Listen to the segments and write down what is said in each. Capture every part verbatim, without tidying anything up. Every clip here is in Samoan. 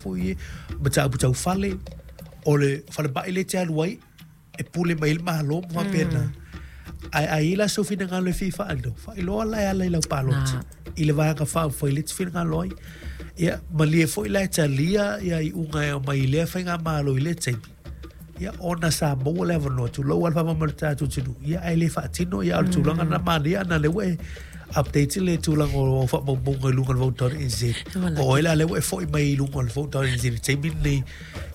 Foi e mataupu tau fale, o le falemai lea e te alu ai, e pule mai ai le Malo ma faapena. Ae a i ai la sou finagalo e fia faailoa, faailoa la e ala i lau palota i le Vaega Faaupufai lea e te finagalo ai. Ia, malie foi la e talia ia iuga e aumai i lea faigamalo i lea taimi, ia ona sa maua le avanoa, tulou lava le faamama o le tatou atunuu, ia ae le faatino, ia a o le tulaga lena manaia ana lea ua e update le tulaga o au faamaumauga i luga o le vote dot nz. O oe la lea ua e foi mai i luga o le vote dot nz i le taimi lenei,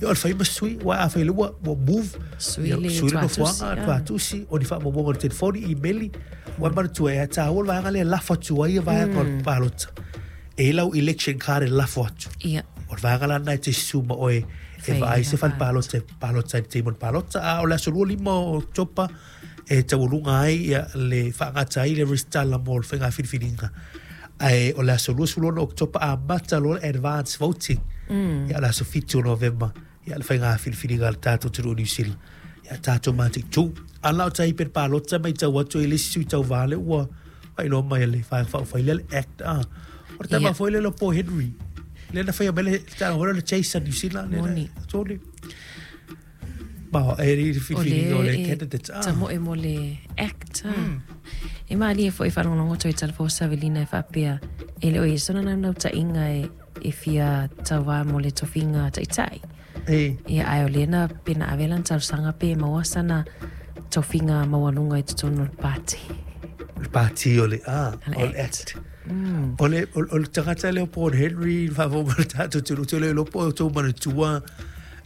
ia o le fai ma sui, aua afai lea ua, ua move, Sui ia le sui le tuatusi, nofoaga, ah. tuatusi, o ni faamaumauga o le telefoni, imeli, ua e manatua e taua le vaega lea e lafo atu ai vaega o le palota. E i ai lau election card e lafo atu. Ia. O le vaega la lena e te susu ma oe e Fai vaai se la fale palota e palota ai i le taimi o le palota. A o le aso lua lima o Oketopa e taualuga ai ia, le faagata ai le resitala mo le faiga filifiliga. Ae o le aso luasefulu ono o Oketopa amata loa le advance voting. Mm. Ia o le aso fitu o Novema ia le faiga filifiliga a le tatou atunuu o Niu Sila. Ia tatou mataitu. A la o tai pe palota mai tau atu i le isi sui tauva lea ua faailoa mai e le Vaega Faaupufai lea le Act. Ah. O le tama Ia. foi lea o Paul Henry. Lea na faia mai le taaloga lea o le Chase a New Zealand. Lea na- Moni. Toli. Ma e le O filifiliga o le le e candidates. Ah. tamoe mo le Act. Mm. E malie foi faalogologo atu i talafou savelina e faapea e le o ia sona naunautai e, e fia tauā mo le tofiga taitai. E. Ia ae o lea na pe na ave lana talosaga pe maua sana tofiga maualuga i totonu o le pati. Le pati o le ah, Le o le Act. Act. O le, o, o le tagata lea o Paul Henry, faafou ma le tatou atunuu, te le iloa po o outou manatua,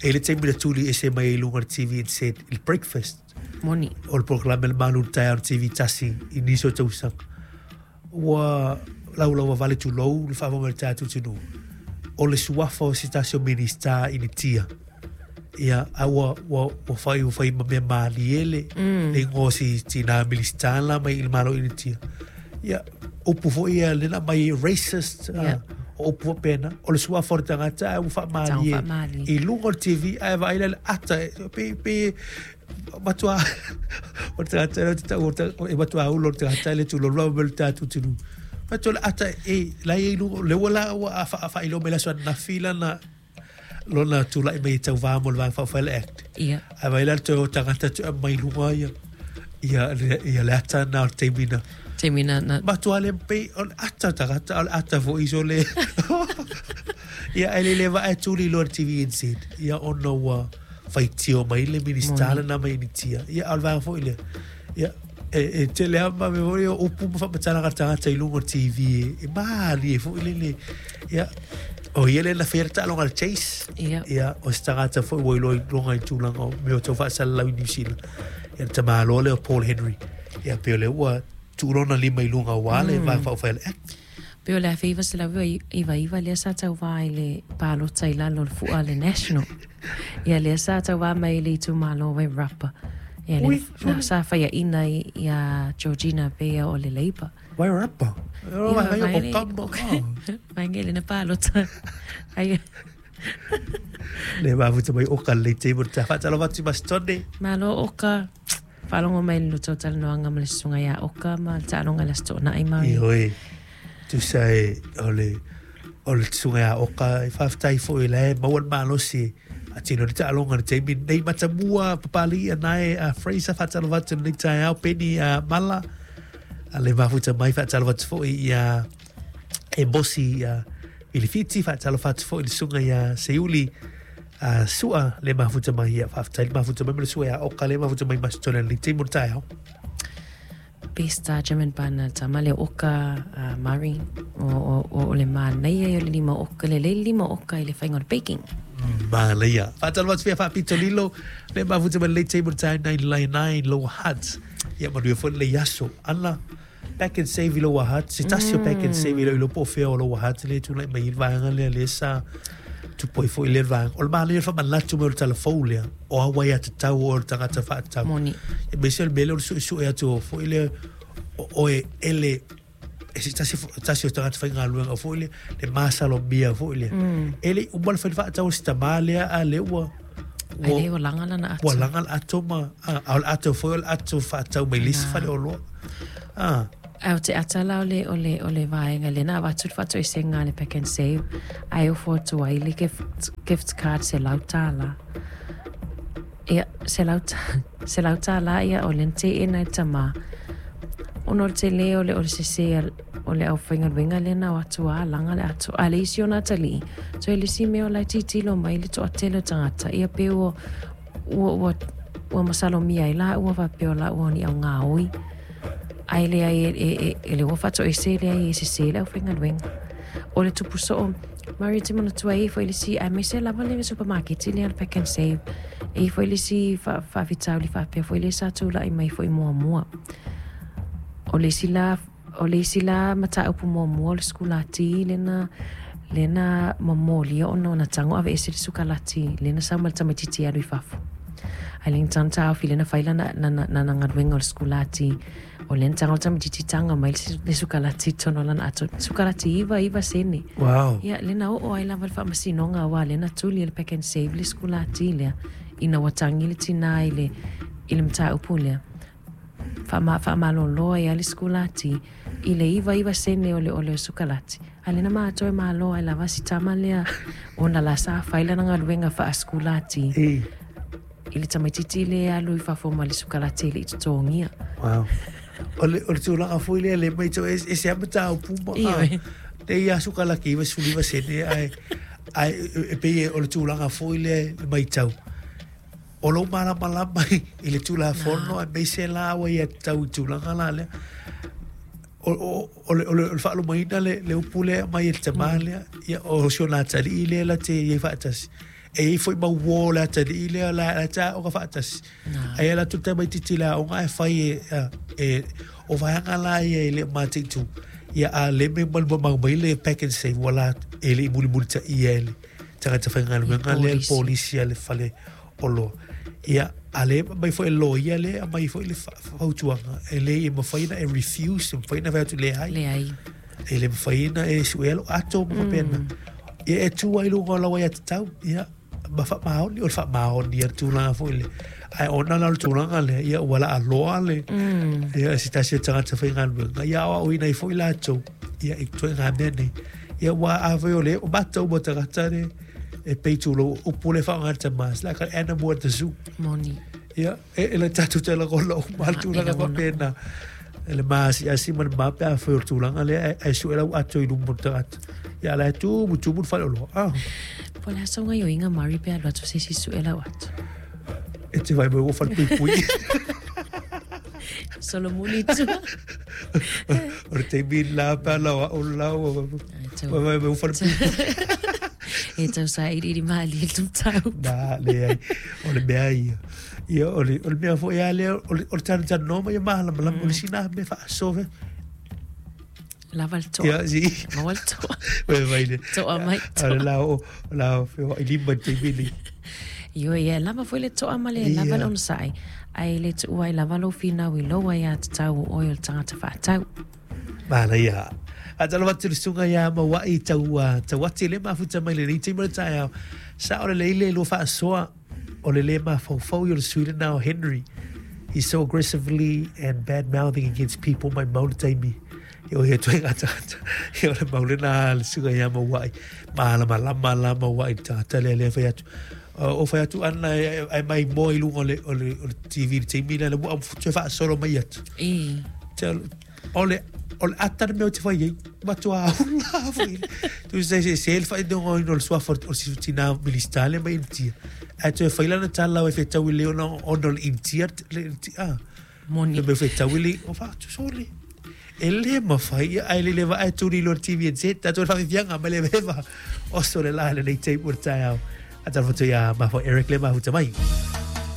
e le taimi na tuli ese mai ai i luga o le T V and said, i le breakfast, Moni. o le polokalame le malu le taeao o le T V tasi i nisi o tausaga. Ua laulau vale tulou le faafou ma le tatou atunuu. O le suafa o se tasi o minista i Initia. Ia, a ua, ua, ua fai, ua fai ma mea malie le, Mm. le ingoa o si tina minista la mai i le malo i Initia. Ia, upu foi ia le na mai racist, ah, Ia. o upu faapena. O le suafa o le tagata, ae ua faamalie Tau faamalie. i luga o le T V, ae vaai la le ata, e, pe, pe, matua, o le tagata lea o te tau, o te, e matua ulo o le tagata le tulou lava ma le tatou atunuu. Matua le ata, e, la i luga, le ua la ua a fa- a faailoa mai le aso ananafi lana, lona tula'i mai e tauvā mo le Vaega Faaupufai le Act. Ia. Ae vaai la le toe o tagata tu mai luga ia, ia, le, ia le ata na o le taimi na. Taimi na, na. Matua le pe, o le ata o tagata, o le ata foi so le. Ia, e le le vae tuli loa le T V N Z. Ia, ona ua faitio mai le minista Moni. lena mai Initia. Ia, o le vaega foi lea. Ia, e, e tele lava ma me foi o upu ma faamatalaga tagata i luga o le T V e, e malie foi le le. Ia, o ia le na faia le taaloga a le Chase. Ia. Ia, o se tagata foi ua iloa i luga i tulaga o mea o tau faasalalau i New Zealand. Ia, le tamāloa lea o Paul Henry. Ia, pe o lea ua tuulona lima i luga o le Vaega Faaupufai le Act. Pe o le afe iwa selau iwa iwa lea sa tauvā i le palota i lalo o le fua le National. Ia lea sa tauvā mai i le itumalo Wairarapa. Ia Ui, lea na sa faiaina i, ia Georgina Beia o le Labour. Wairarapa? O, Ia, vai, vai o le- kama, ah. Vai le na palota. Ai, Le mafuta mai oka le te mo te whaatalo watu mas tone. Malo oka. Whalongo mai le luto talanoanga ma le susunga ia oka ma le taaloga i le aso toonai mai. I hoi, tusa e o le, o le susunga ia oka, i whawhitai fo i le maua le malosi a tino ni taaloga le taimi nei matamua papali a nai a Fraser whaatalo watu nei taeao Penny a Mala. A le mafuta mai whaatalo watu fo i a e bosi a Ilifiti whaatalo watu fo i le susunga ia Seuli. A sua le mafuta mai ia whawhitai le mafuta mai ma le sua ia oka le mafuta mai masitone le taimi o le taeao. Best Jim and Bana tama le oka uh, Murray o, o, o, o le manaia i o le lima oka le le lima oka i le whainga o le baking. Manaia. Whaatalo watu fia whaapito lilo le mafuta mai le taimi o le taeao nine nine Lower Hutt. Ia manua foi le iaso. Ana pack and save i Lower Hutt. Se tasi o pack and save i lo ilo po fea o Lower Hutt le tūlai mai i le vaega lea le sa tupoi foi le vaega. O le manaia o le whamanatu mai o le talafou lea. O a wai atu tau o le tangata whaatau. Moni. E mese o le mele o le sue sue atu o foi le o, o e ele e se tasi, tasi o tagata whaingaluenga o foi le le masalo mia foi le. Mm. Ele uma le whai whaatau o si tamā lea a le ua Ai le ua langa lana ato. Ua langa le ato ma, a, a o le ato foi o le ato whaatau mai lisi Na. whale o loa. Ah. Au te atala o le o le o le vaega lena avatu le faatoesega a le Pack and Save ae ofo atu ai le gift, gift card selau tālā. Ia, selau, selau tālā ia o le teena i le tamā. Ona o le tele o le o le sese o le aufaigaluega lena o atu a laga le ato. A le isi ona atalii, toe le isi mea o la e tilotilo mai le toatele o tagata. Ia pe ua, ua, ua, ua masalomia ai la ua faapea o la ua ni augaoi. Ae leai e, e, e, e le ua faatoese leai e sese le aufaigaluega. O le tupu soo, Mari te manatua e foi le isi, aemaise lava le supermarket lea le Pack and Save. E foi le isi faafitauli faapea foi le sa tulai mai foi muamua. O le isi la, o le isi la mataupu muamua o le sikulati lena, lena mamolia ona ona tago aveese le sukalati lena sau ma le tamaitiiti alu i fafo. Ai le tana taofi lena fai lana lana lana galuega o le sikulati o lena tago le tamaitiiti taga mai le sukalati tonu o lana ato sukalati iva iva sene. Wow. Ia lena oo ai lava le faamasinoga auā lena tuli e le Pack and Save le sikulati lea ina ua tagi le tinā i le i le mataupu lea. Faama faamalōlō ai a le sikulati i le iva iva sene o le o le sukalati. Ae lena matou e malo ai lava si tama lea ona la sa fai lana galuega faasikulati E. i le tamaitiiti le alu i fafo ma le sukalati e le'i totogia. Wow. O le o le tulaga foi lea le mai e e se mataupu ma Ioe. te ia sukalaki iva sefulu iva sene ae ae e pei o le tulaga foi lea le maitau. O lou malamalama i le tulafono aemaise la ua ia tatau i tulaga la lea. O o o le o le o le faalumaina le le upu lea mai e le tamā lea ia o si ona atalii lea la te iai faatasi. E iai foi mau uō le atalii lea la la taoga faatasi. Ae ala atu le tamaitiiti i le aoga ae fai e e o vaega la ia e le o mataitu. Ia a le me malu mai le Pack and Save ua la e le i mulimulitaia e le tagata faigaluega lea le polisi a le fale oloa. Ia a le mai foi e loia le mai foi le fautuaga e le e mafai ona e refuse, e mafai ona fai atu leai. Leai. E le mafai ona e suea lou ato ma faapena. Ia e tu ai luga o lau aiatatau, ia ma faamaoni o le faamaoni a le tulaga foi le. Ae ona la o le tulaga lea, ia ua laaloa le ia se tasi o tagata faigaluega. Ia aoaoina ai foi latou, ia i ituaiga mea nei. Ia ua afai o le o matou ma tagata le e pei tulou upu le faaaoga le tamā, it's like an animal at the zoo. Moni. Ia, e e le tatou te lagona uma le tulaga faapena. E le maasiasi ma le mape afai o le tulaga lea ae sue lau ato i luma o le tagata. Ia la e tumu tumu le faleoloa. Ah. Po o le a sau gaioiga Mari pe alu atu se isi sue lau ato. E te vaai mai ua falepuipui. Solomuli tua. O le taimi la pe ala o au lau. Vai mai ua falepuipui. E tau sailiili malie le mataupu. Na, leai. O le mea ia. Ia, o le, o le mea foi a lea, o le, o le talanoa ma ia malamalama, o le sina mea faasoa. Lava le toa. Ia, si. Maua le toa. Ue mai le. Toa mai, toa. O le lao, o lao, feoai lima i le taimi lenei. Ioe, ia, lava foi le toa ma le lava le onosai. Ae le tuua ai lava lou finau i lou aiatatau o oe o le tagata faatau. Manaia. Faatalofa atu i le susuga ia Mauai tau tau ati le mafuta mai lenei taimi o le taeao. Sa o le lei le lua faasoa o le le mafaufau i o le sui lena o Henry. He's so aggressively and bad mouthing against people mai mau le taimi. E o he toe ngā tagata. E o le mau lena le susuga ia Mauai. Malamalama la Mauai le tagata lea lea fai atu. O fai atu ana e mai moa i luga o le, o le, o le T V le taimi lea le mua toe faasolo mai atu. E. O le o le ata le mea o te fai ai, matua aula foi. Tu se se se le fai dongo ino le suafa o si tina minista le mai Intia. Ae toe fai lana tala o e whetau i le ona ona le Intia le Intia. Ah. Moni. Le mea whetau i le o whaatu sole. E le mawhai ia ai le lewa ai turi lo T V N Z. Tatou le whawhiwhianga ma le vewa. Oso le la le nei teipu o le taeao. Atalofa atu ia mafua Eric le mafuta mai.